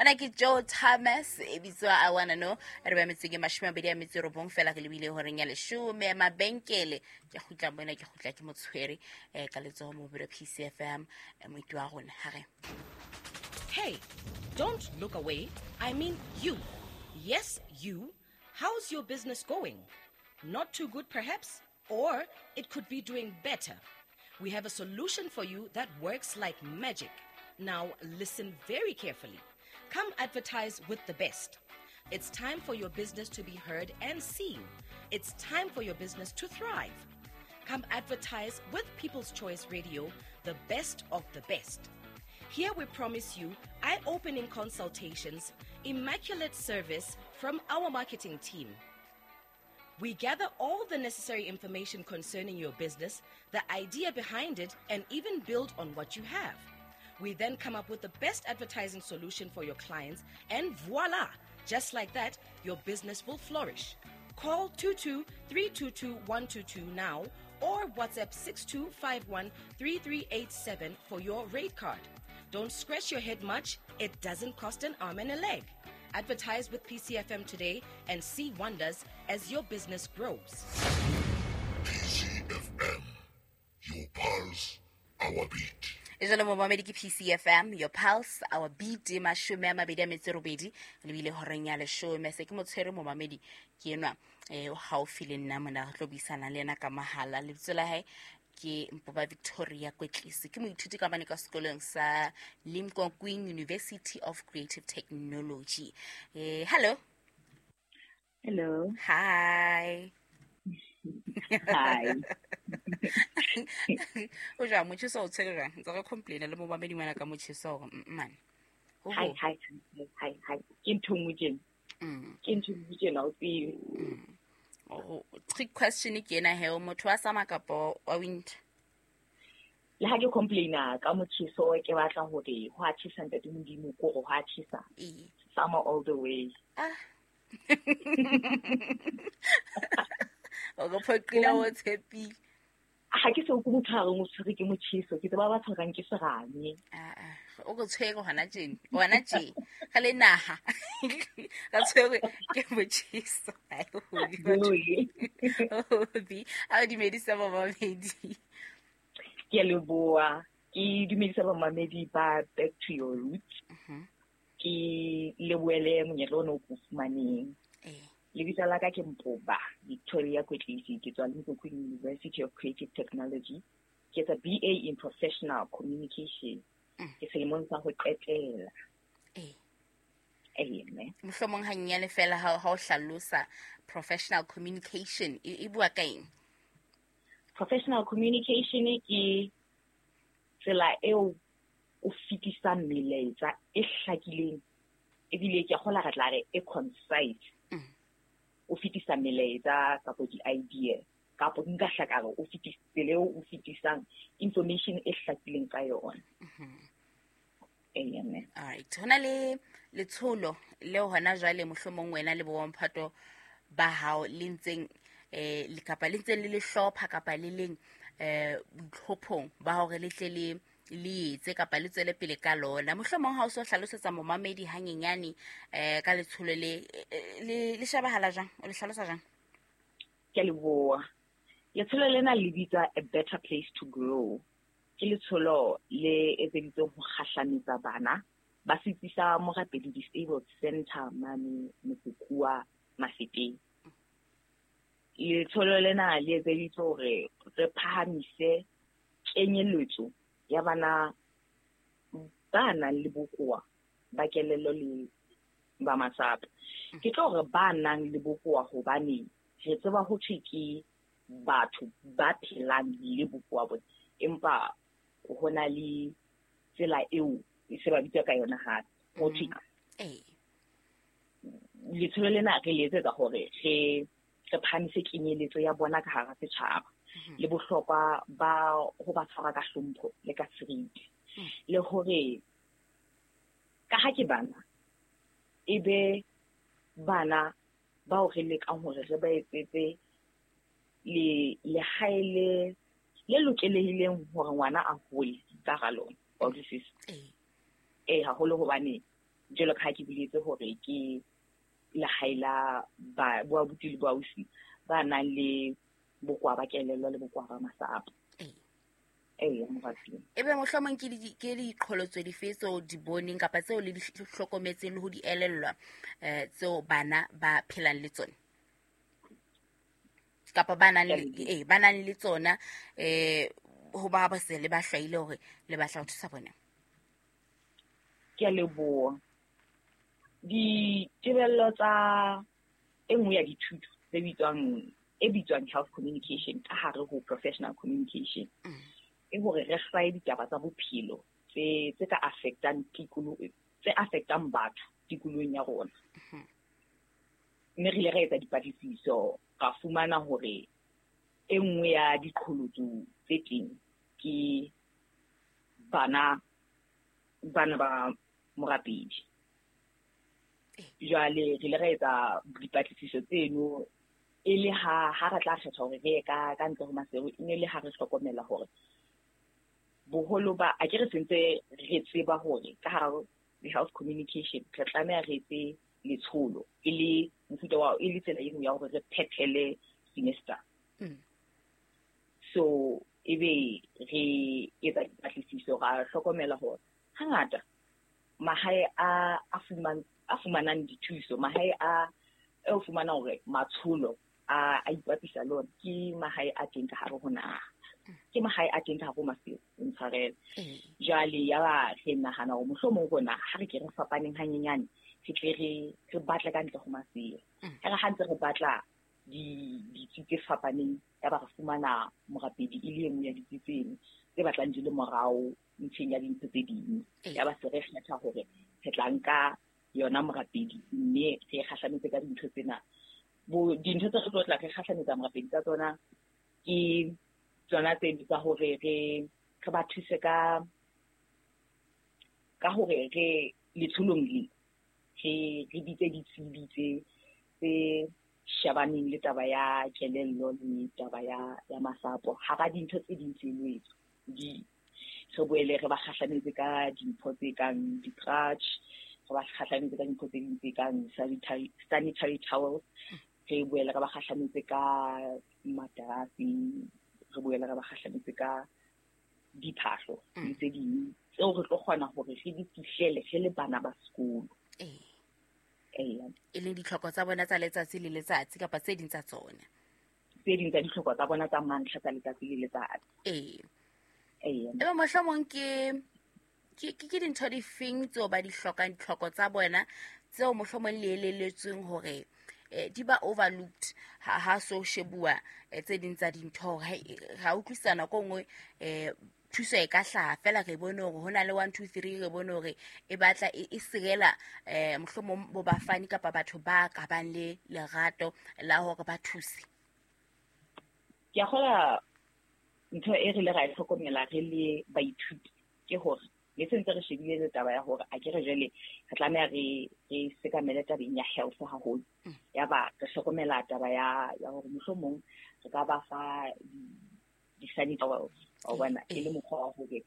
Mona ke Joe Thomas e bitswa I Wanna Know. Re ba metseng e 29 fela re lebile horeng ya 10 mabenkele. Ke kgutla mona, ke kgutla ke motshwere ka letsoho mo biro PCFM moiti wa rona ha re. Hey, don't look away. I mean you. Yes, you. How's your business going? Not too good, perhaps? Or it could be doing better. We have a solution for you that works like magic. Now, listen very carefully. Come advertise with the best. It's time for your business to be heard and seen. It's time for your business to thrive. Come advertise with People's Choice Radio, the best of the best. Here we promise you eye-opening consultations, immaculate service from our marketing team. We gather all the necessary information concerning your business, the idea behind it, and even build on what you have. We then come up with the best advertising solution for your clients, and voila! Just like that, your business will flourish. Call 22-322-122 now or WhatsApp 6251-3387 for your rate card. Don't scratch your head much. It doesn't cost an arm and a leg. Advertise with PCFM today and see wonders as your business grows. PCFM, your pulse, our beat. E jalo momamedi ke PCFM, your pulse, our beat, 28 lebile horeng ya 10. Se ke motshwere momamedi ke enwa o haufi le nna mona, re tlo buisana le yena ka mahala. Lebitso la hae ke Mpoba Victoria Kwetlisi, ke moithuti ka mane ka sekolong sa Limkokwing University of Creative Technology. Hello. Hello. Hi. Hi. O jwang motjheso o tshwere jwang? Ntse re complain le momamedi ngwana ka motjheso hore man. Hi, hi, hi, hi. Ke ntho nngwe tjena. Ke ntho nngwe tjena o tsebe. Oh, trick question ke ena he, o motho wa summer kapa wa winter? Le ha ke complaina ka motjheso, ke batla hore ho a tjhesa ntate Modimo, ko hore ho a tjhesa. Summer all the way. Ah. O go phoqile o tshepile. Ha ke se o motho a reng o tshwere ke motjheso, ke tseba ba tshwarang ke serame. Ah, o go tshwere hona tjena, hona tje. Ga le naha. Ga tshwere ke motjheso. Ai, Hobi. A o dumedisa momamedi. Ke a leboha. Ke dumedisa momamedi ba Back to Your Roots. Ke lebohele monyetla ona o ko fumaneng. Lebitso la ka ke Mpoba Victoria Kwetlisi, ke tswa Limkokwing University of Creative Technology. Ke etsa BA in Professional Communication. Ke selemong sa ho qetela. Mme. Mohlomong hanyenyane fela ha o hlalosa professional communication e bua ka eng? Professional communication ke tsela eo o fetisang melaetsa e hlakileng ebile ke kgola re tla re e concise. O fetisa melaetsa kapa di-idea kapa nka hlaka o fetisa tsela eo o fetisang information e hlakileng ka yona. Mme. All right. Hona le letsholo leo hona jwale mohlomong wena le bomphato ba hao le ntseng le kapa le ntseng le le hlopha kapa le leng boitlhophong ba hore le tle le le etse kapa le tswele pele ka lona. Mohlomong ha o so hlalosetsa momamedi hanyenyane ka letsholo le le shebahala jwang, o le hlalosa jwang? Ke a leboha. Letsholo lena le bitswa A Better Place to Grow. Ke letsholo le etseditsweng ho kgahlametsa bana ba setsi sa Morapedi Disabled Center mane Motsekua Mafeteng. Letsholo lena le etseditswe hore re phahamise kenyeletso ya bana ba nang le bokowa ba kelello le ba masapo. Ke tlo hore ba nang le bokowa hobane re tseba ho thwe ke batho ba phelang le bokowa bona, empa ho na le tsela eo e se ba bitsa ka yona hape. Ho thwe letsholo lena re le etsetsa hore re phahamise kenyeletso ya bona ka hara setjhaba le bohlokwa ba ho ba tshwara ka hlompho le ka seriti, le hore ka ha ke bana e be bana bao re lekang hore re ba etsetse le lehae le lokelehileng hore ngwana a hole ka hara lona. Wa utlwisisa? Haholo hobane Jwalo ka ha ke boletse hore ke lehae la ba boabuti le boausi ba nang le bokowa ba kelello le bokowa ba masapo. Ee, moratuwa. Ebe mohlomong ke diqholotso dife tseo di boneng kapa tseo le di hlokometseng le ho di elellwa tseo bana ba phelang le tsona kapa ba nang le ba nang le tsona ho ba ba se le ba hlwaile hore le batla ho thusa bona? Ke a leboha. Ditebello tsa e nngwe ya dithuto tse bitswang e bitswang health communication ka hare ho professional communication e hore re hlwaye ditaba tsa bophelo tse ka affectang tikoloho, tse affectang batho tikolohong ya rona. Mme re ile ra etsa dipatlisiso, ra fumana hore e nngwe ya diqholotso tse teng ke bana ba morapedi. Jwale re ile ra etsa dipatlisiso tseno e le ha re tla kgetha hore re ye ka ntle ho Maseru, e ne le ha re hlokomela hore boholo ba a ke re sentse re tseba hore ka hara health communication re tlameha re etse letsholo e le mofuta wa e le tsela e nngwe ya hore re phethele semester. So ebe re etsa dipatlisiso, ra hlokomela hore hangata mahae a fumanang dithuso, mahae a e o fumanang hore matsholo a ipapisa le ona ke mahae a teng ka hare ho naha, ke mahae a teng ka hare ho Maseru, ntshwarele. Jwale ya ba re nahana hore mohlomong rona ha re ke re fapaneng hanyenyane, re tle re batle ka ntle ho Maseru. Ha re ha ntse re batla ditsi tse fapaneng, ya ba re fumana morapedi e le e nngwe ya ditsi tseno tse batlang di le morao ntlheng ya dintho tse ding. Ya ba se re kgetha hore re tla nka yona morapedi mme re kgahlametse ka dintho tsena. Dintho tse re tlo tla re kgahlametsa morapedi ka tsona ke tsona tse tsa hore re ba thuse ka hore re letsholong le re bitse ditsebi tse shebaneng le taba ya kelello le taba ya masapo. Hara dintho tse ding tse etswa di re boele re ba kgahlametse ka dimpho tse kang di-crutch, re ba kgahlametse ka dimpho tse ding tse kang sanitary towels, re boele re ba kgahlametse ka materasi, re boele re ba kgahlametse ka diphahlo le tse ding tseo re tlo kgona hore re di fihlele re le bana ba sekolo. E leng ditlhoko tsa bona tsa letsatsi le letsatsi kapa tse ding tsa tsona. Tse ding tsa ditlhoko tsa bona tsa mantlha tsa letsatsi le letsatsi. Ebe mohlomong ke dintho difeng tseo ba di hlokang, ditlhoko tsa bona tseo mohlomong le elelletsweng hore di ba overlooked ha so shebuwa tse ding tsa dintho hore ra utlwisana ko nngwe thuso e ka hlaha fela re bone hore ho na le 1 2 3, re bone hore e batla e sirela mohlomong bo bafani kapa batho ba ka bang le lerato la hore ba thuse. Ke a kgola ntho e re le ra e hlokomela re le baithuti ke hore le sentse re shebile le taba ya hore a ke re jwale re tlameha re sekamele tabeng ya health haholo. Ya ba re hlokomela taba ya hore mohlomong re ka ba fa di-sanitary towels, wa bona, e le mokgwa wa hore